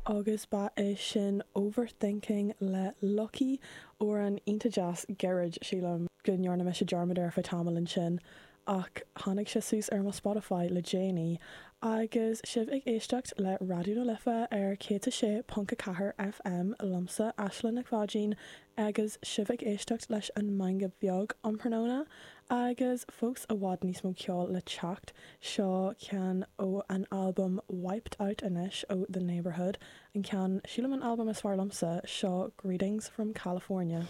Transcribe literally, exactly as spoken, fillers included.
Agus ba é sin Overthinking le Lucky amhrán iontach deas gairid sílim go ndearna mise dearmad air feadh tamaill ansin ach tháinig sé suas ar mo Spotify le déanaí agus sibh ag éisteacht le Raidió na Life ar céad a sé ponc a ceathair FM liomsa Aisling Nic Pháidín agus sibh ag éisteacht leis an Meangadh Beag um thráthnóna agus fós i bhfad níos mó ceol le teacht seo ceann ó an albam Wiped Out anois ó The Neighbourhood an ceann sílim an albam is fearr liomsa seo Greetings from California.